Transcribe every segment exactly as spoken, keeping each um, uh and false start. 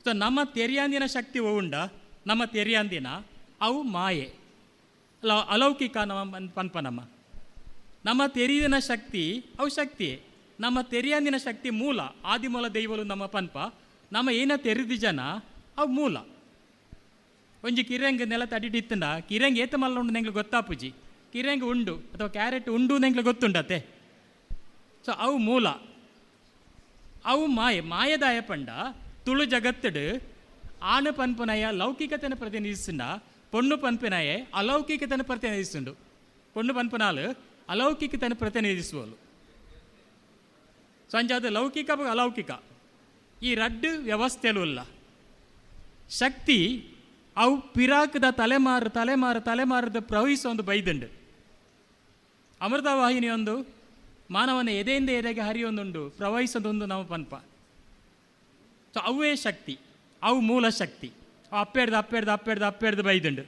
ಸೊ ನಮ್ಮ ತೆರಿಯಾಂದಿನ ಶಕ್ತಿ ಉಂಡ ನಮ್ಮ ತೆರಿಯಾಂದಿನ ಅವು ಮಾಯೆ ಅಲ್ಲ ಅಲೌಕಿಕ ನಮ್ಮ ಪನ್ಪ ನಮ್ಮ ನಮ್ಮ ತೆರಿದಿನ ಶಕ್ತಿ ಅವು ಶಕ್ತಿಯೇ ನಮ್ಮ ತೆರಿಯಾಂದಿನ ಶಕ್ತಿ ಮೂಲ ಆದಿಮೂಲ ದೈವಲು ನಮ್ಮ ಪನ್ಪ ನಮ್ಮ ಏನ ತೆರಿದಿ ಜನ ಅವು ಮೂಲ ಒಂಜಿ ಕಿರಂಗ್ ನೆಲ ತಡಿಟಿತ್ತಂಡ ಕಿರಂಗ್ ಏತ ಮಲ್ಲ ಉಂಡು ನೆಂಗ್ಲು ಗೊತ್ತಾಪುಜಿ ಕಿರಂಗ್ ಉಂಡು ಅಥವಾ ಕ್ಯಾರೆಟ್ ಉಂಡು ನೆಂಗ್ಲು ಗೊತ್ತುಂಡತೆ ಸೊ ಅವು ಮೂಲ ಅವು ಮಾಯೆ ಮಾಯದಾಯ ಪಂಡ ತುಳು ಜಗತ್ತಡು ಆಣ ಪನ್ಪುನಯ ಲೌಕಿಕತೆನ ಪ್ರತಿನಿಧಿಸುಂಡ ಪೊಣ್ಣು ಪನ್ಪಿನಯೆ ಅಲೌಕಿಕತೆನ ಪ್ರತಿನಿಧಿಸುಂಡು ಪೊಣ್ಣು ಪನ್ಪುನಾಲು ಅಲೌಕಿಕತೆನ ಪ್ರತಿನಿಧಿಸುವಲು ಸೊ ಅಂಚಾದ ಲೌಕಿಕ ಅಲೌಕಿಕ ಈ ರಡ್ಡು ವ್ಯವಸ್ಥೆಲು ಇಲ್ಲ ಶಕ್ತಿ ಅವು ಪಿರಾಕದ ತಲೆಮಾರು ತಲೆಮಾರು ತಲೆಮಾರದ ಪ್ರವಹಿಸೋ ಒಂದು ಬೈದುಂಡು ಅಮೃತವಾಹಿನಿಯೊಂದು ಮಾನವನ ಎದೆಯಿಂದ ಎದೆಗೆ ಹರಿಯೊಂದುಂಡು ಪ್ರವಹಿಸೋದೊಂದು ನಮ್ಮ ಪನ್ಪ ಸೊ ಅವೇ ಶಕ್ತಿ ಅವು ಮೂಲ ಶಕ್ತಿ ಅವು ಅಪ್ಪೆಡ್ದು ಅಪ್ಪೆಡ್ದು ಅಪ್ಪೆಡ್ದು ಅಪ್ಪೆಡ್ದು ಬೈದುಂಡು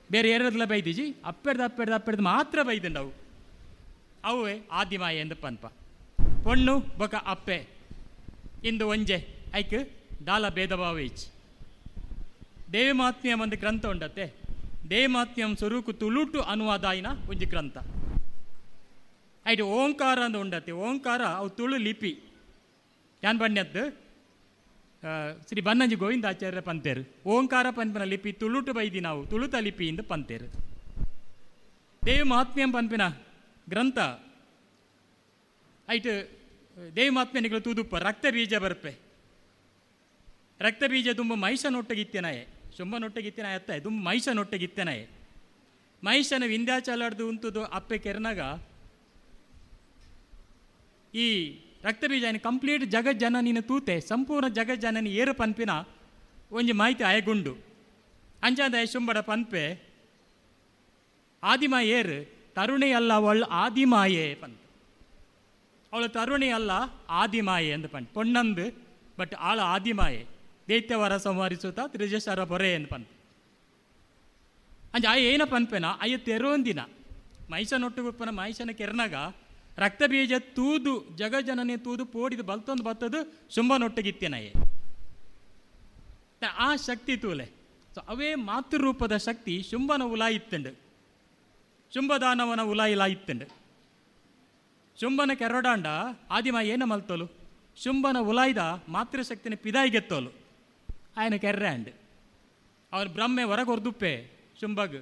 ಬೇರೆ ಏರದಲ್ಲ ಬೈದಿಜಿ ಅಪ್ಪೆಡ್ದು ಅಪ್ಪೆಡ್ದು ಅಪ್ಪೆಡ್ದು ಮಾತ್ರ ಬೈದುಂಡು ಅವು ಅವೇ ಆದಿಮಾಯ ಎಂದು ಪನ್ಪ ಪೊಣ್ಣು ಬೊಕ ಅಪ್ಪೆ ಇಂದು ಒಂಜೆ ಐಕ್ ದಾಲ ಭೇದ ಭಾವ ಇಚ್ ದೇವಮಾತ್ಮ್ಯಂ ಒಂದು ಗ್ರಂಥ ಉಂಡತ್ತೆ ದೇವಮಾತ್ಮ್ಯಂ ಸ್ವರೂಕು ತುಳುಟು ಅನುವಾದಾಯಿನ ಒಂಜಿ ಗ್ರಂಥ ಐಟ್ ಓಂಕಾರ ಅಂದ್ ಉಂಡತ್ತೆ ಓಂಕಾರ ಅವು ತುಳು ಲಿಪಿ ಯಾನ್ ಬಣ್ಯದ್ದು ಶ್ರೀ ಬನ್ನಂಜಿ ಗೋವಿಂದಾಚಾರ್ಯ ಪಂತೇರು ಓಂಕಾರ ಪನ್ಪಿನ ಲಿಪಿ ತುಳುಟು ಬೈದಿ ನಾವು ತುಳುತ ಲಿಪಿ ಇಂದ ಪಂತೇರು ದೇವ ಮಹಾತ್ಮ್ಯಂ ಪನ್ಪಿನ ಗ್ರಂಥ ಐಟ್ ದೇವ ಮಹಾತ್ಮ್ಯನಿಗಳು ತೂದುಪ್ಪ ರಕ್ತ ಬೀಜ ಬರ್ಪೆ ರಕ್ತ ಬೀಜ ತುಂಬ ಮಹಿಷನೊಟ್ಟಗಿತ್ತೆನಾಯೆ ಶುಂಭನೊಟ್ಟಗಿತ್ತೆನಾಯ ಅತ್ತ ದುಂಬ ಮಹಿಷನೊಟ್ಟಗಿತ್ತೆನಾಯೆ ಮಹಿಷನ ವಿಂಧ್ಯಾಚಲಾಡ್ದು ಉಂತುದು ಅಪ್ಪೆ ಕೆರ್ನಾಗ ಈ ರಕ್ತ ಬೀಜ ಕಂಪ್ಲೀಟ್ ಜಗತ್ ಜನನಿನ ತೂತೆ ಸಂಪೂರ್ಣ ಜಗತ್ ಜನನಿ ಏರು ಪನ್ಪಿನ ಒಂಜಿ ಮಾಹಿತಿ ಆಯಗುಂಡು ಅಂಚಾದ ಶುಂಬಡ ಪನ್ಪೆ ಆದಿಮ ಏರು ತರುಣಿ ಅಲ್ಲ ಅವಳು ಆದಿಮಾಯೆ ಪಂತ ಅವಳು ತರುಣಿ ಅಲ್ಲ ಆದಿಮಾಯೆ ಎಂದು ಪಂಟ್ ಪೊಣ್ಣಂದು ಬಟ್ ಆಳ ಆದಿಮಾಯೆ ದೈತ್ಯವರ ಸಂಹರಿಸುತ್ತ ತ್ರಿಜಶರ ಪೊರೆ ಎಂದು ಪಂತ ಅಂಚ ಆಯ ಏನ ಪನ್ಪೆನ ಅಯ್ಯ ತೆರೋಂದಿನ ಮಹಿಷನೊಟ್ಟುಗುಪ್ಪನ ಮಹಿಷನ ಕೆರ್ನಾಗ ರಕ್ತ ಬೀಜ ತೂದು ಜಗಜನನೆ ತೂದು ಪೋಡಿದು ಬಲ್ತೊಂದು ಬತ್ತದು ಶುಂಭನೊಟ್ಟಗಿತ್ತೆನಯೆ ಆ ಶಕ್ತಿ ತೂಲೆ ಸೊ ಅವೇ ಮಾತೃರೂಪದ ಶಕ್ತಿ ಶುಂಭನ ಉಲಾಯಿತ್ತಂಡು ಶುಂಭದಾನವನ ಉಲಾಯಿಲಾಯಿತ್ತಂಡು ಶುಂಭನ ಕೆರಡಾಂಡ ಆದಿಮ ಏನ ಮಲ್ತೋಲು ಶುಂಭನ ಉಲಾಯ್ದ ಮಾತೃಶಕ್ತಿನ ಪಿದಾಯಿಗೆತ್ತೋಲು ಆಯನ ಕೆರ್ರೆ ಅಂಡ್ ಅವನು ಬ್ರಹ್ಮೆ ಹೊರಗೊರ್ದುಪ್ಪೆ ಶುಂಭಗ್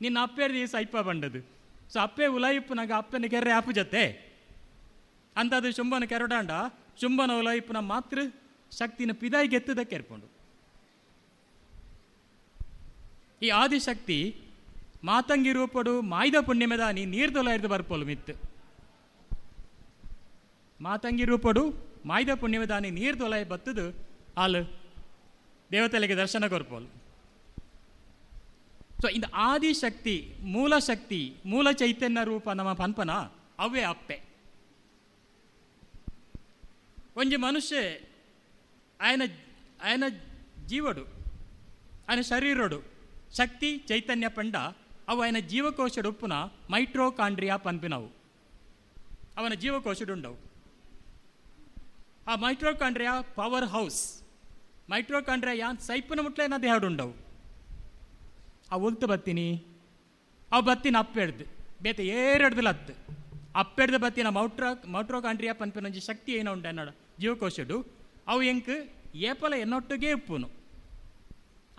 ನಿನ್ನ ಅಪ್ಪೇರ್ದಿ ಸೈಪ ಬಂಡದು ಸೊ ಅಪ್ಪೆ ಉಲಾಯಿಪ್ಪನಾಗ ಅಪ್ಪನ ಕೆರ್ರೆ ಆಪು ಜತೆ ಅಂತದು ಶುಂಭನ ಕೆರಡಾಂಡ ಶುಂಭನ ಉಲಾಯಿಪ್ಪನ ಮಾತೃ ಶಕ್ತಿನ ಪಿದಾಯಿಗೆತ್ತದ ಕೆರ್ಪುಂಡು ಈ ಆದಿಶಕ್ತಿ ಮಾತಂಗಿ ರೂಪಡು ಮಾಯ್ದ ಪುಣ್ಯಮೆದಾನಿ ನೀರ್ದೊಲ ಹಿಡ್ದು ಬರ್ಪೋಲು ಮಿತ್ತು ಮಾತಂಗಿ ರೂಪಡು ಮಾಯ್ದ ಪುಣ್ಯಮೆದಾನಿ ನೀರ್ದೊಲ ಬತ್ತದು ಆಲು ದೇವತೆಲೆಗೆ ದರ್ಶನ ಕೊರ್ಪೋಲು. ಸೊ ಇಂದ ಆದಿಶಕ್ತಿ ಮೂಲ ಶಕ್ತಿ ಮೂಲ ಚೈತನ್ಯ ರೂಪ ನಮ್ಮ ಪನ್ಪನ ಅವೇ ಅಪ್ಪೆ. ಒಂಜಿ ಮನುಷ್ಯ ಆಯನ ಆಯನ ಜೀವಡು ಆಯನ ಶರೀರಡು ಶಕ್ತಿ ಚೈತನ್ಯ ಪಂಡ ಅವು ಆಯನ ಜೀವಕೋಶಡುಪ್ಪುನ ಮೈಟ್ರೋಕಾಂಡ್ರಿಯಾ ಪನ್ಪಿನವು ಅವನ ಜೀವಕೋಶಡುಂಡವು. ಆ ಮೈಟ್ರೋಕಾಂಡ್ರಿಯಾ ಪವರ್ ಹೌಸ್ ಮೈಟ್ರೋಕಾಂಡ್ರಿಯಾ ಯಾನ್ ಸೈಪನ ಮುಟ್ಲೆ ನಾ ದೇಹಡುಂಡವು. ಆ ಒಲ್ತು ಬತ್ತೀನಿ ಅವು ಬತ್ತಿನ ಅಪ್ಪೆಡ್ದು ಬೇತೆ ಏರೆಡ್ದು ಲತ್ತು ಅಪ್ಪೆಡ್ದು ಬತ್ತಿನ ಮೌಟ್ರಾ ಮೈಟ್ರೋಕಾಂಡ್ರಿಯಾ ಪನ್ಪಿನೊಂಜಿ ಶಕ್ತಿ ಏನೋ ಉಂಡು ಅನ್ನೋಡ ಜೀವಕೋಶಡು ಅವು ಎಂಕ್ ಏಪಲ ಎನ್ನೊಟ್ಟಿಗೆ ಇಪ್ಪುನು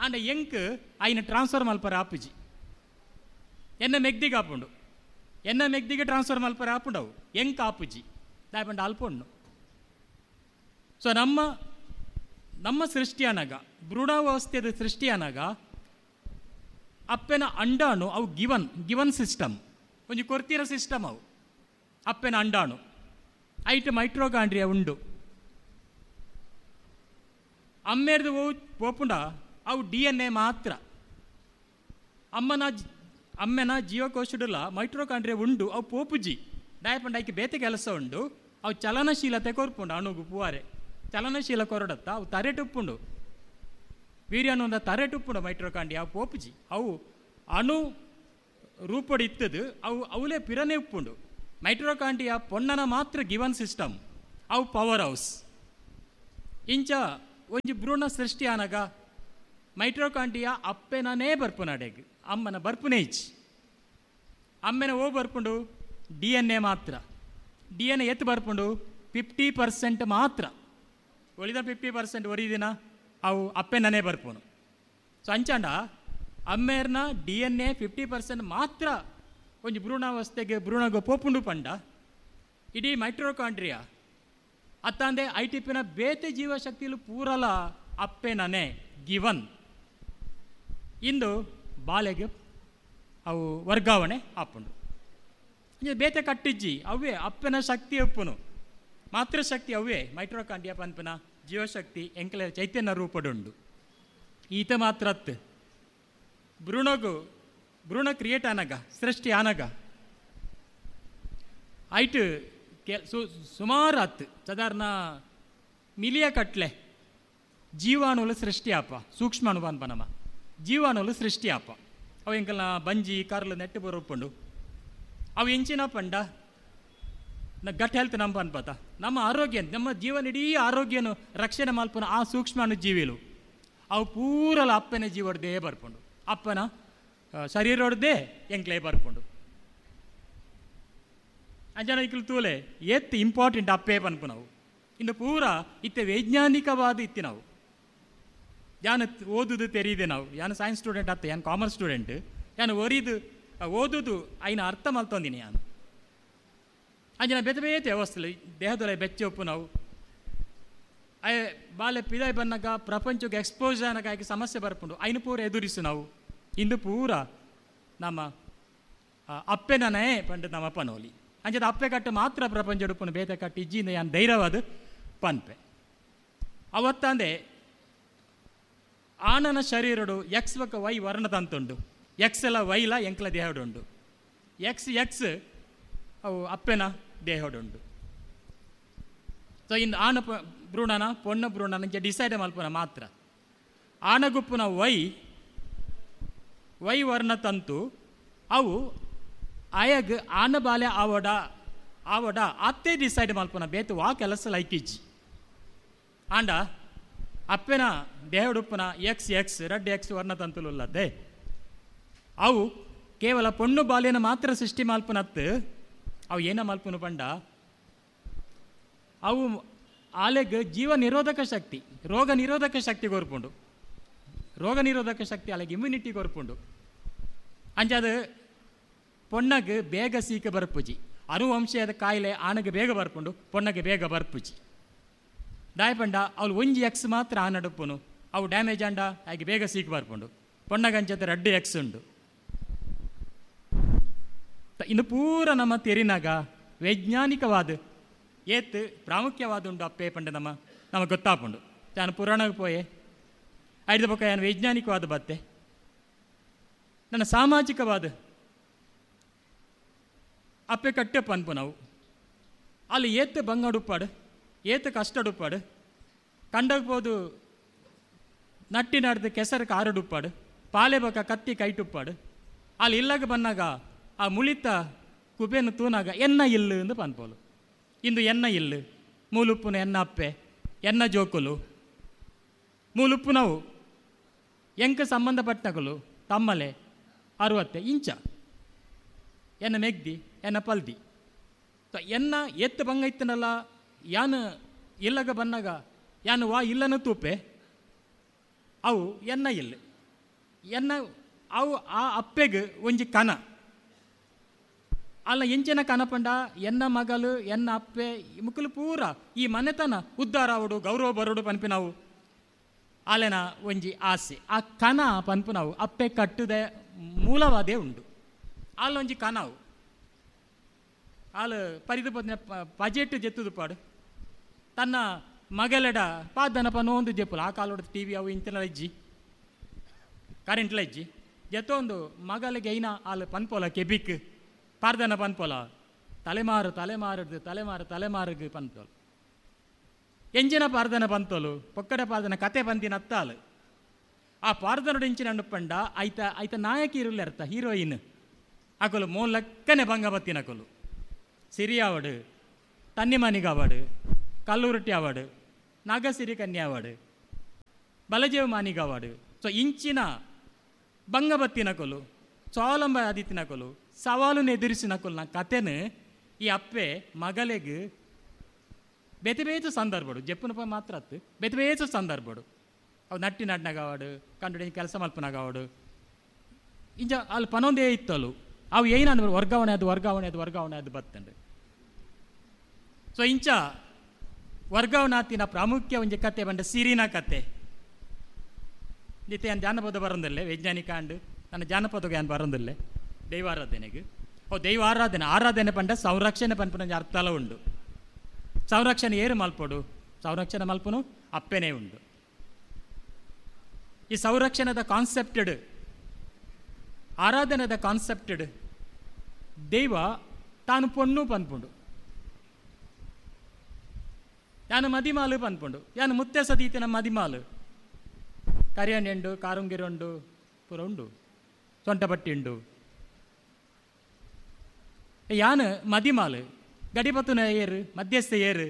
ಆಂಡ ಎಂಕ್ ಆಯ್ನ ಟ್ರಾನ್ಸ್ಫರ್ ಮಲ್ಪರ ಆಪುಜಿ ಎನ್ನ ಮೆಗ್ದಿಗೆ ಆಪುಂಡು ಎನ್ನ ಮೆಗ್ದಿಗೆ ಟ್ರಾನ್ಸ್ಫರ್ ಮಲ್ಪರ ಆಪುಂಡವು ಎಂಕ್ ಆಪುಜಿ ದಾಯಪಂಡ ಅಲ್ಪುಂಡು. ಸೊ ನಮ್ಮ ನಮ್ಮ ಸೃಷ್ಟಿಯಾನಾಗ ಭ್ರೂಣಾವಸ್ಥೆದ ಸೃಷ್ಟಿಯಾನಾಗ ಅಪ್ಪೆನ ಅಂಡಾಣು ಅವು ಗಿವನ್ ಗಿವನ್ ಸಿಸ್ಟಮ್ ಒಂಜಿ ಕೊರ್ತಿರ ಸಿಸ್ಟಮ್ ಅವು ಅಪ್ಪೆನ ಅಂಡಾಣು ಐಟ್ ಮೈಟ್ರೋಕಾಂಡ್ರಿಯಾ ಉಂಡು ಅಮ್ಮೇರ್ದು ಪೋಪುಂಡ ಅವು ಡಿ ಎನ್ ಎ ಮಾತ್ರ ಅಮ್ಮನ ಅಮ್ಮೆನ ಜೀವಕೋಶಡುಲ ಮೈಟ್ರೋಕಾಂಡ್ರಿಯಾ ಉಂಡು ಅವು ಪೋಪುಜಿ ಡಾಯಪಂಡ ಐಕೆ ಬೇತೆ ಕೆಲಸ ಉಂಡು ಅವು ಚಲನಶೀಲತೆ ಕೊರ್ಪುಂಡು ಅಣುಗು ಪುವಾರೆ ಚಲನಶೀಲ ಕೊರಡತ್ತ ಅವು ತರೆಟುಪ್ಪುಂಡು ವೀರ್ಯಾಣು ತರೆಟುಪ್ಪುಂಡು ಮೈಟ್ರೋಕಾಂಡ್ರಿಯಾ ಅವು ಪೋಪುಜಿ ಅವು ಅಣು ರೂಪಡು ಇತ್ತದು ಅವು ಅವಲೇ ಪಿರನೆ ಉಪ್ಪುಂಡು. ಮೈಟ್ರೋಕಾಂಡ್ರಿಯಾ ಪೊಣ್ಣನ ಮಾತ್ರ ಗಿವನ್ ಸಿಸ್ಟಮ್ ಅವು ಪವರ್ ಹೌಸ್. ಇಂಚ ಒಂಜಿ ಭ್ರೂಣ ಸೃಷ್ಟಿ ಆನಗ ಮೈಟ್ರೋಕಾಂಡ್ರಿಯಾ ಅಪ್ಪೆನೇ ಬರ್ಪುನಡೆಗ್ ಅಮ್ಮನ ಬರ್ಪುನೇ ಇಜ್ಜಿ. ಅಮ್ಮೆನ ಓ ಬರ್ಪುಂಡು ಡಿ ಎನ್ ಎ ಮಾತ್ರ. ಡಿ ಎನ್ ಎ ಎತ್ತು ಬರ್ಪುಂಡು ಫಿಫ್ಟಿ ಪರ್ಸೆಂಟ್ ಮಾತ್ರ. ಒಳಿದ ಫಿಫ್ಟಿ ಪರ್ಸೆಂಟ್ ಒರಿದಿನ ಅವು ಅಪ್ಪೆನೇ ಬರ್ಪುನು. ಸೊ ಅಂಚಾಂಡ ಅಮ್ಮೇರ್ನ D N A fifty percent ಮಾತ್ರ ಒಂಜಿ ಭ್ರೂಣಾವಸ್ಥೆಗೆ ಭ್ರೂಣಗ ಪೋಪುಂಡು ಪಂಡ ಇಡೀ ಮೈಟ್ರೋಕಾಂಡ್ರಿಯಾ ಅತ್ತಂದೆ I T ಪಿನ ಬೇತೆ ಜೀವಶಕ್ತಿಲು ಪೂರಲ ಅಪ್ಪೆನನೆ ಗಿವನ್ ಇಂದು ಬಾಲೆಗೆ ಅವು ವರ್ಗಾವಣೆ ಆಪುಂಡು. ಬೇತೆ ಕಟ್ಟಿಜ್ಜಿ ಅವೇ ಅಪ್ಪನ ಶಕ್ತಿ ಉಪ್ಪುನು ಮಾತೃಶಕ್ತಿ ಅವೇ ಮೈಟ್ರೋಕಾಂಡ್ರಿಯಾ ಪನ್ಪನ ಜೀವಶಕ್ತಿ ಎಂಕಲ ಚೈತನ್ಯ ರೂಪಡುಂಡು. ಈತ ಮಾತ್ರತ್ ಭ್ರೂಣಗು ಭ್ರೂಣ ಕ್ರಿಯೇಟ್ ಆನಗ ಸೃಷ್ಟಿ ಆನಗ ಐಟ್ ಕೆ ಸು ಸುಮಾರು ಹತ್ತು ಸಾಧಾರಣ ಮಿಲಿಯ ಕಟ್ಲೆ ಜೀವಾಣುಲು ಸೃಷ್ಟಿ ಆಪ ಸೂಕ್ಷ್ಮಾಣು ಪನ್ಪನಮ್ಮ ಜೀವಾಣುಲು ಸೃಷ್ಟಿ ಆಪ ಅವು ಎಂಕಲ್ನ ಬಂಜಿ ಕರ್ಲು ನೆಟ್ಟು ಬರೋಪುಂಡು. ಅವು ಎಂಚಿನ ಪಂಡ ಗಟ್ ಹೆಲ್ತ್ ನಮ್ಮ ಅನ್ಪತ ನಮ್ಮ ಆರೋಗ್ಯ ನಮ್ಮ ಜೀವನ ಇಡೀ ಆರೋಗ್ಯನು ರಕ್ಷಣೆ ಮಲ್ಪುನ ಆ ಸೂಕ್ಷ್ಮಾಣು ಜೀವಿಲು ಅವು ಪೂರಲ ಅಪ್ಪನ ಜೀವಡ್ದೇ ಬರ್ಪುಂಡು ಅಪ್ಪನ ಶರೀರೊಡ್ದೇ ಎಂಕ್ಲೇ ಬರ್ಪುಂಡು. ಅಂಜನ ಇಕ್ಲು ತೂಲೆ ಏತ್ ಇಂಪಾರ್ಟೆಂಟ್ ಅಪ್ಪೇ ಪನ್ಪು ನಾವು ಇನ್ನು ಪೂರ ಇತ್ತೆ ವೈಜ್ಞಾನಿಕವಾದ ಇತ್ತಿ ನಾವು ಯಾನು ಓದುದು ತೆರೀದೆ ನಾವು ಯಾನು ಸೈನ್ಸ್ ಸ್ಟೂಡೆಂಟ್ ಅತ್ತ ಯಾನು ಕಾಮರ್ಸ್ ಸ್ಟೂಡೆಂಟ್ ಯಾನು ಒರಿದು ಓದುದು ಐನ ಅರ್ಥ ಮಲ್ತೊಂದಿನಿ ಯಾನು. ಅಂಜನ ಬೇತೆ ಬೇತೆ ವ್ಯವಸ್ಥೆ ದೇಹದೊಲೆ ಬೆಚ್ಚ ಉಪ್ಪು ನಾವು ಅಯ್ಯ ಬಾಲೆ ಪಿದಾಯ್ ಬನ್ನಾಗ ಪ್ರಪಂಚಕ್ಕೆ ಎಕ್ಸ್ಪೋಸ್ ಆನಗ ಆಗಿ ಸಮಸ್ಯೆ ಬರ್ಪುಂಡು ಐನು ಪೂರ ಎದುರಿಸು ನಾವು ಇಂದು ಪೂರ ನಮ್ಮ ಅಪ್ಪೆನನೇ ಪಂಡ ನಮ್ಮ ಪನೋಲಿ ಅಂಚದ ಅಪ್ಪೆ ಕಟ್ಟು ಮಾತ್ರ ಪ್ರಪಂಚ ಉಪ್ಪುನು ಬೇತೆ ಕಟ್ಟು ಇಜ್ಜಿಂದ ಯಾನ್ ಧೈರ್ಯವಾದ ಪನ್ಪೆ. ಅವತ್ತಂದೆ ಆನನ ಶರೀರಡು ಎಕ್ಸ್ ಬೊಕ್ಕ ವೈ ವರ್ಣತಂತುಂಡು ಎಕ್ಸ್ ಎಲ್ಲ ವೈಲ ಎಂಕ್ಲ ದೇಹಡುಂಡು ಎಕ್ಸ್ ಎಕ್ಸ್ ಅವು ಅಪ್ಪೆನ ದೇಹಡುಂಡು. ಸೊ ಇನ್ನು ಆನ ಭ್ರೂಣನ ಪೊಣ್ಣ ಭ್ರೂಣನ ಡಿಸೈಡ್ ಮಲ್ಪುನ ಮಾತ್ರ ಆನಗುಪ್ಪುನ ವೈ ವೈ ವರ್ಣತಂತು ಅವು ಆಯಗ್ ಆನ ಬಾಲೆ ಆವಡ ಆವಡ ಅತ್ತೆ ಡಿಸೈಡ್ ಮಲ್ಪುನ ಬೇತು ವಾ ಕೆಲಸ ಲೈಕಿಜ್ಜಿ. ಆಂಡ ಅಪ್ಪೆನ ದೇಹಡುಪ್ಪುನ ಎಕ್ಸ್ ಎಕ್ಸ್ ರಡ್ಡ್ ಎಕ್ಸ್ ವರ್ಣತಂತುಲುಲ್ಲದೆ ಅವು ಕೇವಲ ಪೊಣ್ಣು ಬಾಲ್ಯನ ಮಾತ್ರ ಸೃಷ್ಟಿ ಮಲ್ಪುನತ್ತು ಅವು ಏನ ಮಲ್ಪುನು ಪಂಡ ಅವು ಆಲೆಗ್ ಜೀವ ನಿರೋಧಕ ಶಕ್ತಿ ರೋಗ ನಿರೋಧಕ ಶಕ್ತಿ ಕೊರ್ಪುಂಡು ರೋಗ ನಿರೋಧಕ ಶಕ್ತಿ ಆಲೆಗ್ ಇಮ್ಯುನಿಟಿ ಕೊರ್ಪುಂಡು. ಅಂಚಾದ ಪೊಣ್ಣಗ್ ಬೇಗ ಸೀಕ ಬರ್ಪುಜಿ ಅನುವಂಶೀಯದ ಕಾಯಿಲೆ ಆನಗೆ ಬೇಗ ಬರ್ಪುಂಡು ಪೊಣ್ಣಗೆ ಬೇಗ ಬರ್ಪುಜಿ. ದಾಯಪಂಡ ಅವಳು ಒಂಜಿ ಎಕ್ಸ್ ಮಾತ್ರ ಆನಡುಪ್ಪುನು ಅವು ಡ್ಯಾಮೇಜ್ ಅಂಡ ಆಗಿ ಬೇಗ ಸೀಕ್ ಬರ್ಪುಂಡು ಪೊಣ್ಣಗಂಚದ ರಡ್ಡು ಎಕ್ಸ್ ಉಂಡು. ಇನ್ನು ಪೂರ ನಮ್ಮ ತೆರಿನಾಗ ವೈಜ್ಞಾನಿಕವಾದ ಏತ್ ಪ್ರಾಮುಖ್ಯವಾದ ಉಂಡು ಅಪ್ಪೆ ಪಂಡ ನಮ್ಮ ನಮಗೆ ಗೊತ್ತಾಪುಂಡು. ನಾನು ಪುರಾಣಕ್ಕೆ ಪೋಯೆ ಐದು ಪಕ್ಕ ನಾನು ವೈಜ್ಞಾನಿಕವಾದ ಬತ್ತೆ ನನ್ನ ಸಾಮಾಜಿಕವಾದ ಅಪ್ಪೆ ಕಟ್ಟೆ ಪನ್ಪು ನಾವು ಅಲ್ಲಿ ಏತ್ ಬಂಗಡುಪ್ಪಾಡು ಏತ್ ಕಷ್ಟಡುಪ್ಪಾಡು ಕಂಡಗ್ಬೋದು ನಟ್ಟಿ ನಡ್ದು ಕೆಸರು ಕಾರಡುಪ್ಪಾಡು ಪಾಲೆ ಬಕ್ಕ ಕತ್ತಿ ಕೈಟುಪ್ಪಾಡು ಅಲ್ಲಿ ಇಲ್ಲಾಗ ಬನ್ನಾಗ ಆ ಮುಳಿತ ಕುಬೇನು ತೂನಾಗ ಎನ್ನ ಇಲ್ಲು ಎಂದು ಪನ್ಪೋಲು. ಇಂದು ಎನ್ನ ಇಲ್ಲು ಮೂಲುಪ್ಪುನ ಎನ್ನ ಅಪ್ಪೆ ಎನ್ನ ಜೋಕುಲು ಮೂಲುಪ್ಪುನವು ಎಂಕ ಸಂಬಂಧಪಟ್ಟಗಳು ತಮ್ಮಲೆ ಅರುವತ್ತೆ ಇಂಚ ಎನ್ನ ಮೆಗ್ದಿ ಎನ್ನ ಪಲ್ದಿ ಎನ್ನ ಎತ್ತು ಬಂಗ ಇತ್ತನಲ್ಲ ಯಾನು ಇಲ್ಲಗ ಬನ್ನಾಗ ಯಾನು ವಾ ಇಲ್ಲನ ತೂಪೆ ಅವು ಎನ್ನ ಇಲ್ಲ ಎನ್ನ ಅವು ಆ ಅಪ್ಪೆಗೆ ಒಂಜಿ ಕನ ಅಲ್ಲ ಎಂಚಿನ ಕನಪಂಡ ಎನ್ನ ಮಗಲು ಎನ್ನ ಅಪ್ಪೆ ಮುಕ್ಕಲು ಪೂರ ಈ ಮನೆತನ ಉದ್ಧಾರ ಆವಡು ಗೌರವ ಬರೋಡು ಪನ್ಪಿ ನಾವು ಆಲೆನ ಒಂಜಿ ಆಸೆ ಆ ಕನ ಪನ್ಪು ನಾವು ಅಪ್ಪೆ ಕಟ್ಟುದೆ ಮೂಲವಾದೇ ಉಂಡು ಅಲ್ಲೊಂಜಿ ಕನವು ಆಲು ಪರಿದು ಪತ್ನ ಪಜೆಟ್ ಜೆತ್ತುದು ಪಾಡು ತನ್ನ ಮಗಲೆಡ ಪಾದನ ಪನೊಂದು ಜೆಪ್ಪುಲ ಆ ಕಾಲೋಡ ಟಿ ವಿ ಅವು ಇಂತಿನ ಇಜ್ಜಿ ಕರೆಂಟ್ಲ ಇಜ್ಜಿ ಜೆತ್ತೊಂದು ಮಗಲಿಗೆ ಐನ ಆಲು ಪನ್ಪೋಲ ಕೆಬಿಕ್ ಪಾರ್ದನ ಪನ್ಪೋಲ ತಲೆಮಾರು ತಲೆಮಾರದು ತಲೆಮಾರು ತಲೆಮಾರುಗೆ ಪನ್ಪೋಲು ಎಂಜಿನ ಪಾರ್ದನ ಪಂತೋಲು ಪೊಕ್ಕಡೆ ಪಾರ್ದನ ಕತೆ ಪಂತಿನ ಅತ್ತಾಲು ಆ ಪಾರ್ದನೋಡು ಇಂಚಿನ ಅಣ್ಣಪಂಡ ಐತ ಐತ ನಾಯಕಿ ಇರುಲ್ಲ ಅರ್ಥ ಹೀರೋಯಿನ್ ಅಕಲು ಮೂಲಕ್ಕನೆ ಬಂಗಬತ್ತಿನ ಅಕಲು ಸಿರಿ ಆವಡು ತನ್ನಿಮನಿಗೆ ಆವಡು ಕಲ್ಲುರುಟ್ಟಿ ಆವಡು ನಾಗಸಿರಿ ಕನ್ಯೆ ಆವಡು ಬಲಜೇವ ಮಾನಿಗವಾಡು. ಸೊ ಇಂಚಿನ ಬಂಗಬತ್ತಿನ ಕೊಲು, ಸ್ವಾವಲಂಬ ಆದಿತ್ತಿನ ಕೊಲು, ಸವಾಲನ್ನು ಎದುರಿಸಿನ ಕೊಲ್ನ ಕತೆನ ಈ ಅಪ್ಪೆ ಮಗಲೆಗ್ ಬೇತೆ ಬೇತೆ ಸಂದರ್ಭಡು, ಜಪ್ಪುನಪ್ಪ ಮಾತ್ರ ಅತ್ತು, ಬೇತೆ ಬೇತೆ ಸಂದರ್ಭಡು ಅವು ನಟ್ಟಿ ನಡ್ನಗವಾಡು, ಕಂಡು ಕೆಲಸ ಮಲ್ಪನಗವಾಡು, ಇಂಜ ಅಲ್ಲಿ ಪನೊಂದೇ ಇತ್ತಲು ಅವು ಏನಂದ್ರೆ ವರ್ಗಾವಣೆ ಅದು ವರ್ಗಾವಣೆ ಅದು ವರ್ಗಾವಣೆ ಅದು ಬತ್ತಂಡು. ಸೊ ಇಂಚ ವರ್ಗಾವಣಾತಿನ ಪ್ರಾಮುಖ್ಯ ಒಂಜಿ ಕತೆ ಬಂಡ ಸಿರಿನ ಕತೆ. ನಿತ್ಯ ಜಾನಪದ ಬರೋದಿಲ್ಲ, ವೈಜ್ಞಾನಿಕ ಅಂಡು ನನ್ನ ಜಾನಪದಕ್ಕೆ ಏನು ಬರೋದಿಲ್ಲ. ದೈವಾರಾಧನೆಗೆ ಓ ದೈವಾರಾಧನೆ ಆರಾಧನೆ ಪಂಡ ಸಂರಕ್ಷಣೆ ಪನ್ಪುನ ಅರ್ಥಲ ಉಂಡು. ಸಂರಕ್ಷಣೆ ಏರು ಮಲ್ಪೊಡು, ಸಂರಕ್ಷಣೆ ಮಲ್ಪುನು ಅಪ್ಪೆನೇ ಉಂಡು. ಈ ಸಂರಕ್ಷಣದ ಕಾನ್ಸೆಪ್ಟೆಡ್, ಆರಾಧನೆದ ಕಾನ್ಸೆಪ್ಟೆಡ್ ದೈವ ತಾನು ಪೊಣ್ಣು ಪನ್ಪುಂಡು, ಯಾನು ಮದಿಮಾಲು ಪನ್ಪುಂಡು, ಯಾನು ಮುತ್ತೆ ಸದೀತಿನ ಮದಿಮಾಲು, ಕರಿಯಣ್ಣೆಂಡು ಕಾರುಂಗಿರುಂಡು ಪೂರ ಉಂಡು, ಸೊಂಟಪಟ್ಟಿ ಉಂಡು, ಯಾನು ಮದಿಮಾಲು ಗಡಿಪತ್ತುನ ಏರು ಮಧ್ಯಸ್ಥ ಏರು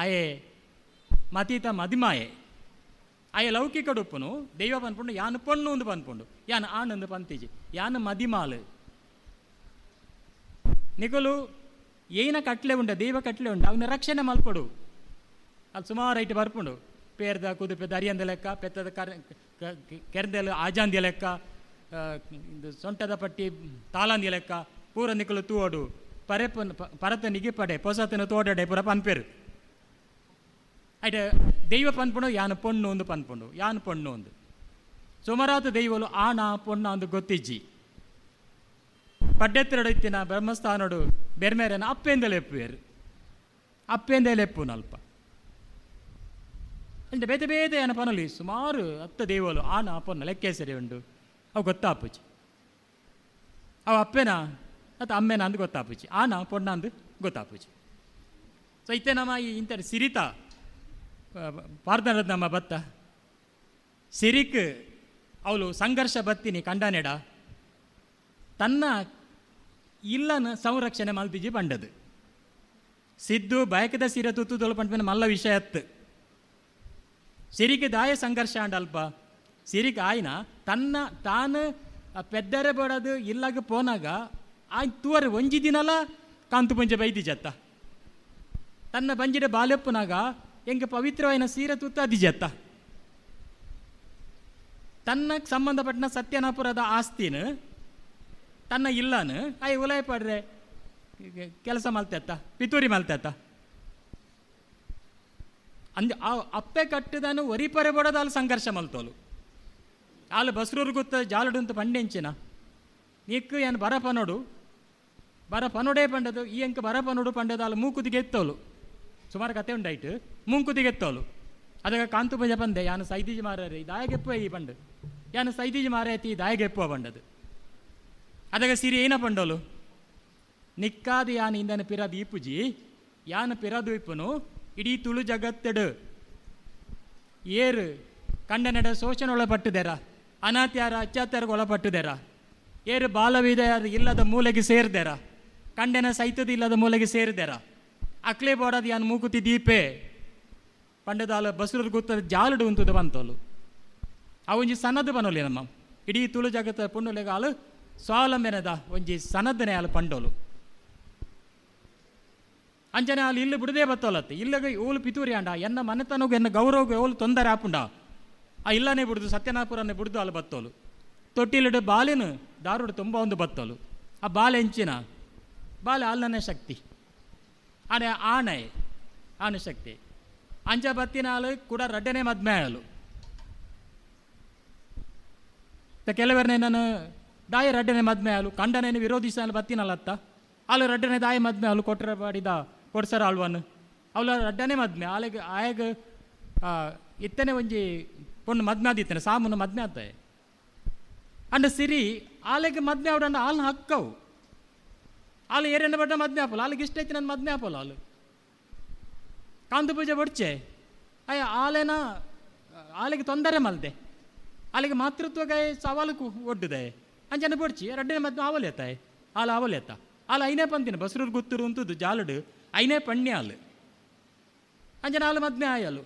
ಆಯೆ ಮತೀತ ಮದಿಮಾಯೆ ಆಯೆ ಲೌಕಿಕ ಉಪ್ಪುನು ದೈವ ಪನ್ಪುಂಡು ಯಾನು ಪೊಣ್ಣು ಒಂದು ಪನ್ಪುಂಡು, ಯಾನು ಆಣಂದು ಪಂತಿಜಿ, ಯಾನು ಮದಿಮಾಲು. ನಿಕಲು ಏನ ಕಟ್ಲೆ ಉಂಡ ದೈವ ಕಟ್ಲೆ ಉಂಡು ಅವನ ರಕ್ಷಣೆ ಮಲ್ಪಡು. ಅಲ್ಲಿ ಸುಮಾರು ಐಟು ಬರ್ಪುಂಡು, ಪೇರ್ದ ಕುದುಪೆದ ಅರಿಯಂದ ಲೆಕ್ಕ, ಪೆತ್ತದ ಕರ್ ಕೆರೆದೆಲ್ಲ ಆಜಾಂದಿ ಲೆಕ್ಕ, ಸೊಂಟದ ಪಟ್ಟಿ ತಾಳಂದಿ ಲೆಕ್ಕ, ಪೂರ ನಿಕಲು ತೂವಡು ಪರೆಪನ ಪರತ ನಿಗಿಪಡೆ ಪೊಸತನ ತೋಡಡೆ ಪೂರ ಪನ್ಪೇರು. ಐಟ ದೈವ ಪನ್ಪುಂಡು ಯಾನು ಪೊಣ್ಣು ಒಂದು ಪನ್ಪುಂಡು, ಯಾನು ಪೊಣ್ಣು ಒಂದು. ಸುಮಾರಾದ ದೈವಲು ಆಣ ಪೊಣ್ಣ ಅಂದು ಗೊತ್ತಿಜ್ಜಿ. ಪಡ್ಡೆತ್ತಿರಡು ಇತ್ತಿನ ಬ್ರಹ್ಮಸ್ಥಾನಡು ಬೆರ್ಮೇರನ ಅಪ್ಪೆಂದಲೇ ಎಪ್ಪುವೇರು, ಅಪ್ಪೆಂದಲೇ ಎಪ್ಪುನಲ್ಪ. అంటే ಬೇತೆ ಬೇತೆ ಏನ ಪನಲಿ ಸುಮಾರು ಹತ್ತು ದೈವಲು ಆನ ಪೊನ್ನ ಲೆಕ್ಕೇಸರಿ ಉಂಡು, ಅವು ಗೊತ್ತಾಪುಜಿ. ಅವು ಅಪ್ಪೆನ ಅಥವಾ ಅಮ್ಮೆನ ಅಂದು ಗೊತ್ತಾಪುಜಿ, ಆನ ಪೊಣ್ಣ ಅಂದು ಗೊತ್ತಾಪುಜಿ. ಸೊ ಇತ್ತೆ ನಮ್ಮ ಈ ಇಂಥ ಸಿರಿತ ಪಾರ್ದನದ ನಮ್ಮ ಬತ್ತ ಸಿರಿಕ್ ಅವಳು ಸಂಘರ್ಷ ಬತ್ತಿನಿ ಕಂಡನೆಡ ತನ್ನ ಇಲ್ಲನ ಸಂರಕ್ಷಣೆ ಮಲ್ತಿಜಿ ಪಂಡದು. ಸಿದ್ದು ಬಯಕದ ಸೀರೆ ತುತ್ತುದೊಳು ಪಂಡ ಮಲ್ಲ ವಿಷಯ ಅತ್ತು. ಸಿರಿಗೆ ದಾಯ ಸಂಘರ್ಷ ಅಂಡ ಅಲ್ಪ ಸಿರಿಗೆ ಆಯ್ನ ತನ್ನ ತಾನು ಪೆದ್ದರೆ ಬೇಡದು ಇಲ್ಲಾಗ ಪೋನಾಗ ಆಯ್ ತೂವರೆ ಒಂಜಿ ದಿನಲ ಕಾಂತು ಪುಂಜೆ ಬೈದಿಜತ್ತ ತನ್ನ ಬಂಜಿಡ ಬಾಲೆಪ್ಪನಾಗ ಎಂಗೆ ಪವಿತ್ರವಾಯಿನ ಸೀರೆ ತುತ್ತ ಅದಿಜತ್ತ ತನ್ನ ಸಂಬಂಧಪಟ್ಟನ ಸತ್ಯನಾಪುರದ ಆಸ್ತಿನ ತನ್ನ ಇಲ್ಲನು ಆಯ್ ಉಲಾಯ ಪಡ್ರೆ ಕೆಲಸ ಮಲ್ತೆತ್ತ ಪಿತೂರಿ ಮಲ್ತೆತ್ತ ಅಂದ್ ಆ ಅಪ್ಪೆ ಕಟ್ಟಿದನು ಒರಿಪರೆ ಬಡೋದು ಅಲ್ಲಿ ಸಂಘರ್ಷ ಮಲ್ತೋಲು ಆಲು ಬಸ್ರೂರು ಗೊತ್ತ ಜಾಲಡು ಅಂತ ಪಂಡೆಂಚಿನ ನೀಕ್ ಏನು ಬರ ಪನೋಡು ಬರ ಪನೋಡೇ ಪಂಡದು ಈ ಅಂಕ ಬರ ಪನೋಡು ಪಂಡದು ಅಲ್ಲಿ ಮೂಕುದಿಗೆ ಎತ್ತೋಲು ಸುಮಾರು ಕತೆ ಉಂಡಾಯ್ತು ಮೂಂಕುದಿಗೆ ಎತ್ತೋಲು ಅದಕ್ಕೆ ಕಾಂತು ಪಂಜ ಪಂದೆ ಯಾನು ಸೈದೀಜ್ ಮಾರರೆ ದಾಯಗೆಪ್ಪುವ ಈ ಪಂಡು ಯಾನು ಸೈದೀಜ್ ಮಾರೈತಿ ದಾಯಗೆಪ್ಪುವ ಪಂಡದು ಅದಕ್ಕೆ ಸಿರಿ ಏನ ಪಂಡೋಲು ನಿಕ್ಕಾದ ಯಾನು ಇಂದನ ಪಿರದು ಈಪುಜಿ ಯಾನು ಪಿರದು ಇಪ್ಪನು ಇಡೀ ತುಳು ಜಗತ್ತೆಡು ಏರು ಕಂಡನೆಡ ಶೋಷಣೆ ಒಳಪಟ್ಟಿದೆರ ಅನಾತ್ಯಾರ ಅತ್ಯಾಚಾರಕ್ಕೆ ಒಳಪಟ್ಟಿದೆರ ಏರು ಬಾಲವಿದ ಇಲ್ಲದ ಮೂಲೆಗೆ ಸೇರಿದೆರ ಕಂಡನ ಸೈತದ ಇಲ್ಲದ ಮೂಲೆಗೆ ಸೇರಿದೆರ ಅಕ್ಲೆ ಬೋಡದ ಯಾನು ಮೂಕುತಿ ದೀಪೆ ಪಂಡದಾಲ ಬಸರು ಗೊತ್ತದ ಜಾಲಡು ಉಂತದ ಬಂತೋಲು ಆ ಒಂಜಿ ಸನದ ಬನೋಲಿ ನಮ್ಮ ಇಡೀ ತುಳು ಜಗತ್ತ ಪುಣ್ಣುಲೆಗ ಆಲು ಸ್ವಾವಲಂಬನೆದ ಒಂಜಿ ಸನದನೆ ಆಲು ಪಂಡೋಲು ಅಂಜನೆ ಅಲ್ಲಿ ಇಲ್ಲಿ ಬಿಡದೆ ಬತ್ತೋಲತ್ತೆ ಇಲ್ಲಗ ಓಲು ಪಿತೂರಿ ಅಂಡ ಎನ್ನ ಮನೆತನಗೂ ಎನ್ನ ಗೌರವಗೂ ಓಲು ತೊಂದರೆ ಆಪುಂಡ ಆ ಇಲ್ಲನೇ ಬಿಡುದು ಸತ್ಯನಾಪುರನೇ ಬಿಡುದು ಅಲ್ಲಿ ಬತ್ತೋಲು ತೊಟ್ಟಿಲಿಡು ಬಾಲಿನ ದಾರುಡು ತುಂಬ ಒಂದು ಬತ್ತೋಲು ಆ ಬಾಲೆ ಎಂಚಿನ ಬಾಲೆ ಅಲ್ಲನೇ ಶಕ್ತಿ ಆನೆ ಆಣೆ ಆನೆ ಶಕ್ತಿ ಅಂಜ ಬತ್ತಿನ ಹಾಲು ಕೂಡ ರಡ್ಡನೆ ಮದ್ಮೆ ಆಲು ಕೆಲವರನ್ನೇ ನಾನು ದಾಯ ರಡ್ಡನೆ ಮದ್ಮೆ ಆಲು ಕಂಡನೇನು ವಿರೋಧಿಸಲು ಬತ್ತಿನಲ್ಲತ್ತ ಆಲು ರಡ್ಡನೆ ದಾಯ ಮದ್ಮೆ ಆಲು ಕೊಟ್ಟರೆ ಬಾಡಿದ ಕೊಡ್ಸರ ಆಳ್ವನ್ ಅವಳ ರಡ್ಡನೆ ಮದ್ಮೆ ಆಲೆಗೆ ಆಯಗ ಇತ್ತನೆ ಒಂಜಿ ಪೊಣ್ಣು ಮದ್ಮೆ ಆದಿತ್ತನೆ ಸಾಮುನ ಮದ್ಮೆ ಆತಾಯ ಅಂಡ ಸಿರಿ ಆಲೆಗೆ ಮದ್ಮೆ ಅವಡಂಡ ಆಲ್ನ ಹಕ್ಕವು ಆಲು ಏರೆಣ್ಣ ಬಡ್ಡ ಮದ್ಮೆ ಆಪಲ್ಲ ಆಲಿಗೆ ಇಷ್ಟ ಐತಿ ನನ್ನ ಮದ್ಮೆ ಆಪಲ್ಲ ಆಲು ಕಾಂತು ಪೂಜೆ ಬಡ್ಚೆ ಅಯ್ಯ ಆಲೆನ ಆಲೆಗೆ ತೊಂದರೆ ಮಲ್ದೆ ಆಲೆಗೆ ಮಾತೃತ್ವಗಾಯ ಸವಾಲು ಒಡ್ಡುದೆ ಅಂಜನ ಬಡ್ಚಿ ರಡ್ಡನೆ ಮದ್ಮೆ ಆವಲೇತಾಯ ಆಲ ಆವಲೇತ ಆಲ ಐನೇ ಪಂತಿನ ಬಸ್ರೂರು ಗುತ್ತೂರು ಅಂತದ್ದು ಜಾಲಡು ಐನೇ ಪಣ್ಯ ಆಲು ಅಂಜನ ಆಲು ಮದ್ಮೆ ಆಯಲು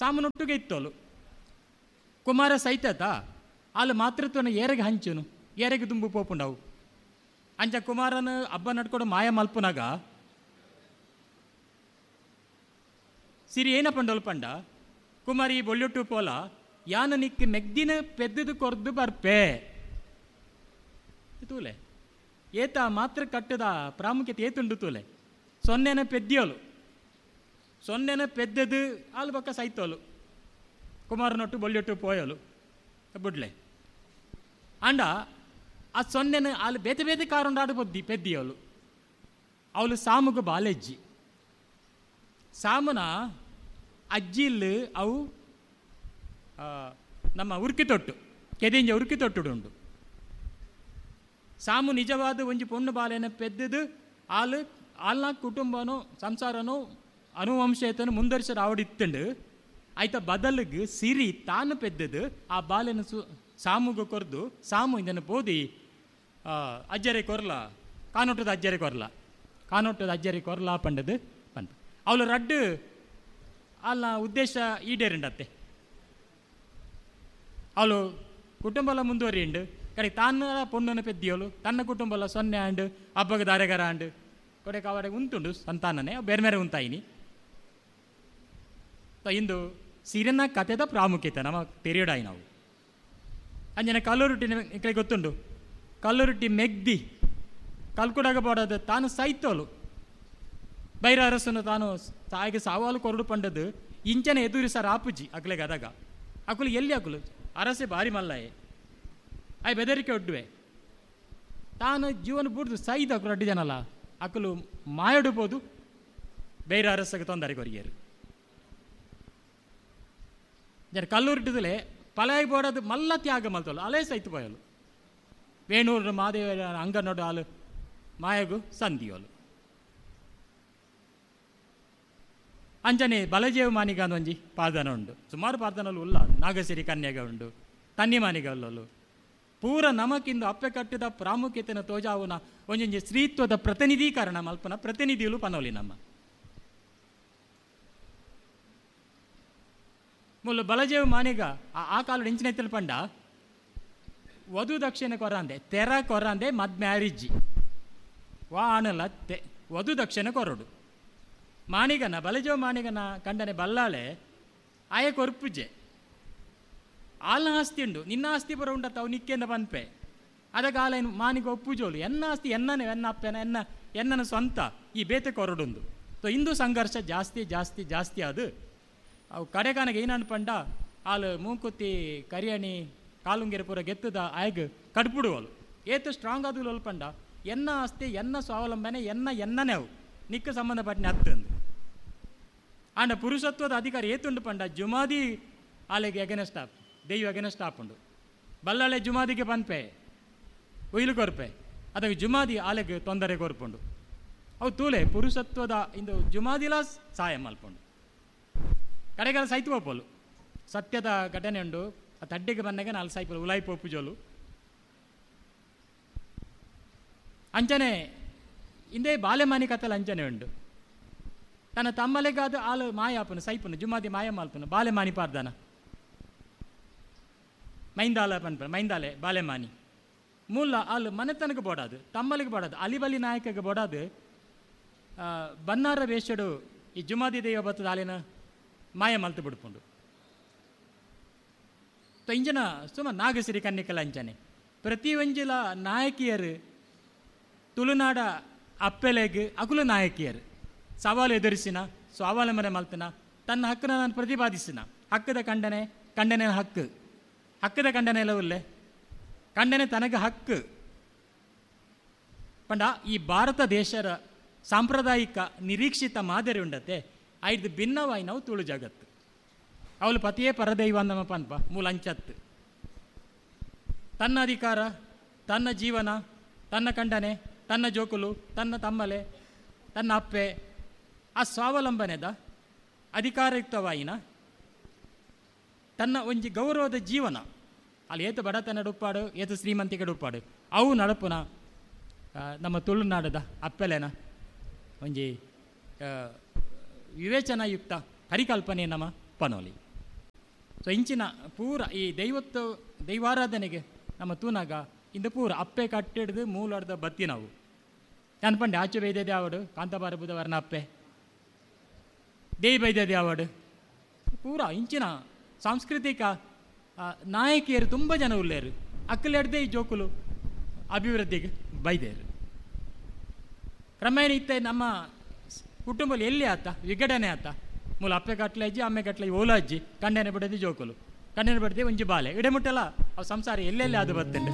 ಸಾಮನೊಟ್ಟಿಗೆ ಇತ್ತೋಲು. ಕುಮಾರ ಸೈತತ ಆಲು ಮಾತೃತ್ವನ ಏರೆಗೆ ಹಂಚುನು, ಏರೆಗೆ ದುಂಬು ಪೋಪುಂಡವು. ಅಂಚ ಕುಮಾರನ ಹಬ್ಬ ನಡ್ಕೊಂಡು ಮಾಯ ಮಲ್ಪುನಾಗ ಸಿರಿ ಏನ ಪಂಡೋಲು ಪಂಡ, ಕುಮಾರಿ ಬೊಳ್ಳುಟ್ಟು ಪೋಲ ಯಾನ ನಿಕ್ ಮೆಗ್ದಿನ ಪೆದ್ದದು ಕೊರ್ದು ಬರ್ಪೆ ತೂಲೆ. ಏತ ಮಾತ್ರ ಕಟ್ಟದ ಪ್ರಾಮುಖ್ಯತೆ ಏತುಂಡು ತೂಲೆ. ಸೊನ್ನೆನ ಪೆದ್ದಿಯೋಲು, ಸೊನ್ನೆನ ಪೆದ್ದದು ಆಲು ಬೊಕ್ಕ ಸೈತೋಲು, ಕುಮಾರನೊಟ್ಟು ಬೊಳ್ಳುಟ್ಟು ಪೋಯೋಲು ಬುಡ್ಲೆ. ಅಂಡ ಆ ಸೊನ್ನೆನ ಆಲು ಬೇತೆ ಬೇತೆ ಕಾರುಂಡಾಡು ಪೊದ್ದಿ ಪೆದ್ದಿಯೋಲು. ಅವಳು ಸಾಮುಗು ಬಾಲೆಜ್ಜಿ, ಸಾಮುನ ಅಜ್ಜಿಲ್ ಅವು ನಮ್ಮ ಉರ್ಕಿ ತೊಟ್ಟು ಕೆದಿಂಜ ಉರ್ಕಿ ತೊಟ್ಟುಡು ಉಂಡು. ಸಾಮು ನಿಜವಾದ ಒಂಜಿ ಪೊಣ್ಣು ಬಾಲೆನ ಪೆದ್ದದು ಆಲು ಆಲ್ನ ಕುಟುಂಬನೋ ಸಂಸಾರನೋ ಅನುವಂಶೇತನು ಮುಂದರ್ಸರ ಆವಡಿತ್ತಂಡು. ಆಯ್ತ ಬದಲಿಗೆ ಸಿರಿ ತಾನು ಪೆದ್ದದು ಆ ಬಾಲೆನ ಸು ಸಾಮುಗು ಕೊರ್ದು ಸಾಮು ಇದನ್ನು ಬೋದಿ ಅಜ್ಜರೆ ಕೊರ್ಲ ಕಾನೊಟ್ಟದ ಅಜ್ಜರೆ ಕೊರ್ಲ ಕಾನೊಟ್ಟದ ಅಜ್ಜರೆ ಕೊರ್ಲ ಪಂಡದು ಪಂಪ. ಅವಳು ರಡ್ಡು ಅಲ್ಲ ಉದ್ದೇಶ ಈಡೇರಿಂಡತ್ತೆ. ಅವಳು ಕುಟುಂಬಲ ಮುಂದುವರಿಯುಂಡು, ಕಡೆ ತಾನ ಪೊಣ್ಣನ ಪೆದ್ದಿಯೋಳು, ತನ್ನ ಕುಟುಂಬಲ ಸೊನ್ನೆ ಆಂಡು ಹಬ್ಬಗ ದಾರೆಗರ ಆಂಡು ಕೊಡೆ ಕಾವಡೆ ಉಂಟುಂಡು ಸಂತಾನನೇ ಬೇರೆ ಬೇರೆ ಉಂತಾಯಿನಿ. ಇಂದು ಸಿರಿನ ಕತೆದ ಪ್ರಾಮುಖ್ಯತೆ ನಮ್ಮ ತೆರಿಯಡಾಯಿ ನಾವು. ಅಂಜನೆ ಕಲ್ಲುರುಟ್ಟಿ ಇಕಡೆ ಗೊತ್ತುಂಡು, ಕಲ್ಲುರುಟ್ಟಿ ಮೆಗ್ದಿ ಕಲ್ಕುಡಾಗ ಬೋಡದು ತಾನು ಸೈತೋಲು ಬೈರ ಅರಸನು ತಾನು ತಾಯಿಗೆ ಸಾವಾಲು ಕೊರಡು ಪಂಡದು ಇಂಚನೆ ಎದುರಿಸರ ಆಪುಜಿ ಅಕ್ಲೆಗೆ ಅದಾಗ ಅಕುಲು ಎಲ್ಲಿ ಅಕುಲು ಅರಸೆ ಭಾರಿ ಮಲ್ಲಾಯೆ ಆಯ್ ಬೆದರಿಕೆ ಒಡ್ಡುವೆ ತಾನು ಜೀವನ ಬುಡ್ದು ಸೈದ ಅಕುಲು ಅಡ್ಡಿ ಜನಲ್ಲ ಅಕುಲು ಮಾಯಡುಬೋದು ಬೈರ ಅರಸಗೆ ತೊಂದರೆ ಕೊರಿಯರು. ಜನ ಕಲ್ಲುರುಟ್ಟಿದಲೆ ಪಲಾಯಿ ಬೋಡದು ಮಲ್ಲ ತ್ಯಾಗ ಮಲ್ತೋಲು ಅಲೇ ಸೈತು ಪೋಯಲು. ವೇಣೂರು ಮಾದೇವ ಅಂಗನೋಡು ಹಾಲು ಮಾಯಗು ಸಂಧಿಯೋಲು. ಅಂಜನೆ ಬಲಜೇವ ಮಾನಿಗ ಒಂಜಿ ಪಾದನ ಉಂಡು, ಸುಮಾರು ಪಾದನಲು ಉಲ್ಲ, ನಾಗಸಿರಿ ಕನ್ಯಾಗ ಉಂಡು, ತನ್ನಿ ಮಾನಿಗ ಉಲ್ಲಲು. ಪೂರ ನಮಕಿಂದು ಅಪ್ಪೆ ಕಟ್ಟಿದ ಪ್ರಾಮುಖ್ಯತೆನ ತೋಜಾವುನ ಒಂಜೊಂಜಿ ಸ್ತ್ರೀತ್ವದ ಪ್ರತಿನಿಧೀಕರಣ ಮಲ್ಪನ ಪ್ರತಿನಿಧಿಗಳು ಪನೋಲಿ ನಮ್ಮ ಮೂಲ ಬಲಜೇವ ಮಾನಿಗ ಆ ಕಾಲದ ಇಂಚಿನ ಪಂಡ ವಧು ದಕ್ಷಿಣ ಕೊರಂದೆ ತೆರ ಕೊರಂದೆ ಮದ್ ಮ್ಯಾರಿಜ್ಜಿ ವಾ ಆಣಲ್ಲ ತೆ ವಧು ದಕ್ಷಿಣ ಕೊರಡು ಮಾಣಿಗನ ಬಲಜೇವ ಮಾಣಿಗನ ಕಂಡನೆ ಬಲ್ಲಾಳೆ ಆಯ ಕೊರ್ಪುಜೆ ಆಲ್ನ ಆಸ್ತಿ ಉಂಡು ನಿನ್ನ ಆಸ್ತಿ ಬರೋ ಉಂಡತ್ತ ಅವು ನಿಕ್ಕೆಂದ ಪನ್ಪೆ ಅದಕ್ಕೆ ಆಲ ಮಾನಿಗ ಒಪ್ಪುಜೋಲು ಎನ್ನ ಆಸ್ತಿ ಎನ್ನನೆ ಎನ್ನ ಅಪ್ಪೆನ ಎನ್ನ ಎನ್ನನ ಸ್ವಂತ ಈ ಬೇತೆ ಕೊರಡುಂದು. ಸೊ ಇಂದು ಸಂಘರ್ಷ ಜಾಸ್ತಿ ಜಾಸ್ತಿ ಜಾಸ್ತಿ ಅದು ಅವು ಕಡೆಗಾನಗೆ ಏನನ್ ಪಂಡ ಆಲು ಮೂಂಕುತ್ತಿ ಕರಿಯಣಿ ಕಾಲುಂಗೆರೆ ಪೂರ ಗೆತ್ತದ ಆಯಗ್ ಕಡ್ಪುಡುವಲು ಏತು ಸ್ಟ್ರಾಂಗ್ ಆದುಲು ಪಂಡ ಎನ್ನ ಆಸ್ತಿ ಎನ್ನ ಸ್ವಾವಲಂಬನೆ ಎನ್ನ ಎನ್ನನೆ ಅವು ನಿಕ್ಕ ಸಂಬಂಧಪಟ್ಟನೆ ಹತ್ತಂದು. ಆಂಡ ಪುರುಷತ್ವದ ಅಧಿಕಾರ ಏತುಂಡು ಪಂಡ ಜುಮಾದಿ ಆಲೆಗೆ ಎಗನೆಸ್ಟ್ ಆಪ್ ದೈವ ಎಗನೆಸ್ಟ್ ಆಪುಂಡು ಬಲ್ಲಾಳೆ ಜುಮಾದಿಗೆ ಪನ್ಪೆ ಒಯ್ಲು ಕೊರ್ಪೆ ಅದಕ್ಕೆ ಜುಮಾದಿ ಆಲೆಗೆ ತೊಂದರೆ ಕೊರ್ಪುಂಡು. ಅವು ತೂಲೆ ಪುರುಷತ್ವದ ಇಂದು ಜುಮಾದಿಲ ಸಹಾಯ ಮಲ್ಪುಂಡು. ಕಡೆಗಾಲ ಸೈತು ಪೋಪೋಲು ಸತ್ಯದ ಘಟನೆ ಉಂಡು. ಆ ತಡ್ಡಿಗೆ ಬಂದಾಗ ನಾಲ್ ಸಾಯ್ಪೋಲು ಉಲಾಯಿ ಪೋಪುಜೋಲು. ಅಂಚನೆ ಇಂದೇ ಬಾಲೆಮಾನಿ ಕಥೆಲ ಅಂಚನೆ ಉಂಡು. ತನ್ನ ತಮ್ಮಲೆಗಾದ ಆಲು ಮಾಯಾಪನು ಸೈಪುನು ಜುಮಾದಿ ಮಾಯ ಮಾಲ್ಪನು ಬಾಲೆಮಾನಿ ಪಾರ್ದಾನ ಮೈಂದಾಲ ಪನ್ಪನ ಮೈಂದಾಲೆ ಬಾಲೆಮಾನಿ ಮೂಲ ಆಲು ಮನೆತನಕ್ಕೆ ಬೋಡಾದು ತಮ್ಮಲಿಗೆ ಬೋಡಾದು ಅಲಿಬಲಿ ನಾಯಕಗೆ ಬೋಡಾದು ಬನ್ನಾರ ವೇಷಡು ಈ ಜುಮಾದಿ ದೈವ ಬತ್ತದ ಆಲಿನ ಮಾಯ ಮಲ್ತು ಬಿಡ್ಪುಂಡು. ಇಂಜನ ಸುಮ ನಾಗಸಿರಿ ಕನ್ನಿಕಲ ಅಂಚನೆ ಪ್ರತಿ ಒಂಜಿಲ ನಾಯಕಿಯರು ತುಳುನಾಡ ಅಪ್ಪೆಲೆಗ್ ಅಕುಲು ನಾಯಕಿಯರು ಸವಾಲು ಎದುರಿಸಿನ ಸ್ವಾವಲಂಬನೆ ಮಲ್ತನ ತನ್ನ ಹಕ್ಕನ್ನ ನಾನು ಪ್ರತಿಪಾದಿಸಿನ ಹಕ್ಕದ ಖಂಡನೆ ಖಂಡನೆ ಹಕ್ಕು ಹಕ್ಕದ ಖಂಡನೆ ಎಲ್ಲ ಉಲ್ಲೆ ಖಂಡನೆ ತನಗೆ ಹಕ್ಕು ಪಂಡ ಈ ಭಾರತ ದೇಶದ ಸಾಂಪ್ರದಾಯಿಕ ನಿರೀಕ್ಷಿತ ಮಾದರಿ ಉಂಡತೆ ಐದು ಭಿನ್ನವಾಯಿ ನಾವು ತುಳು ಜಗತ್ತು ಅವಳು ಪತಿಯೇ ಪರದೈವ ನಮ್ಮ ಪನ್ಪ ಮೂಲ ಅಂಚತ್ತು ತನ್ನ ಅಧಿಕಾರ ತನ್ನ ಜೀವನ ತನ್ನ ಖಂಡನೆ ತನ್ನ ಜೋಕುಲು ತನ್ನ ತಮ್ಮಲೆ ತನ್ನ ಅಪ್ಪೆ ಆ ಸ್ವಾವಲಂಬನೆದ ಅಧಿಕಾರಯುಕ್ತವಾಯಿನ ತನ್ನ ಒಂಜಿ ಗೌರವದ ಜೀವನ ಅಲ್ಲಿ ಏತು ಬಡತನ ಉಪ್ಪಾಡು ಏತು ಶ್ರೀಮಂತಿಕೆ ಉಪ್ಪಾಡು ಅವು ನಡಪುನ ನಮ್ಮ ತುಳುನಾಡದ ಅಪ್ಪೆಲೆನ ಒಂಜಿ ವಿವೇಚನಾಯುಕ್ತ ಪರಿಕಲ್ಪನೆ ನಮ್ಮ ಪನೋಲಿ. ಸೊ ಇಂಚಿನ ಪೂರ ಈ ದೈವತ್ತು ದೈವಾರಾಧನೆಗೆ ನಮ್ಮ ತೂನಾಗ ಇಂದು ಪೂರ ಅಪ್ಪೆ ಕಟ್ಟಿಡ್ದು ಮೂಲಾರ್ದ ಬತ್ತಿ ನಾವು. ನಾನು ಪಂಡೆ ಆಚೆ ಬೈದೆ ಆವಡು ಕಾಂತಾಬಾರ ಬುಧವಾರನ ಅಪ್ಪೆ ದೇಯಿ ಬೈದೆ ಆವಡು ಪೂರ ಇಂಚಿನ ಸಾಂಸ್ಕೃತಿಕ ನಾಯಕಿಯರು ತುಂಬ ಜನ ಉಲ್ಲೇರು. ಅಕ್ಕಲೆಡ್ದೆ ಈ ಜೋಕುಲು ಅಭಿವೃದ್ಧಿಗೆ ಬೈದೇರು. ಕ್ರಮೇಣ ಇತ್ತೆ ನಮ್ಮ ಕುಟುಂಬದಲ್ಲಿ ಎಲ್ಲಿ ಆತ ವಿಘಟನೆ ಆತ, ಮೂಲ ಅಪ್ಪೆ ಕಟ್ಲೆ ಅಜ್ಜಿ ಅಮ್ಮೆ ಕಟ್ಲೆ ಓಲ ಅಜ್ಜಿ, ಕಂಡನೆ ಬಿಡದೆ ಜೋಕುಲು, ಕಂಡನೆ ಬಿಡದೆ ಒಂಜಿ ಬಾಲೆ ಇಡೆ ಮುಟ್ಟಲ್ಲ ಅವು ಸಂಸಾರ ಎಲ್ಲೆಲ್ಲಿ ಅದು ಬತ್ತುಂಡು.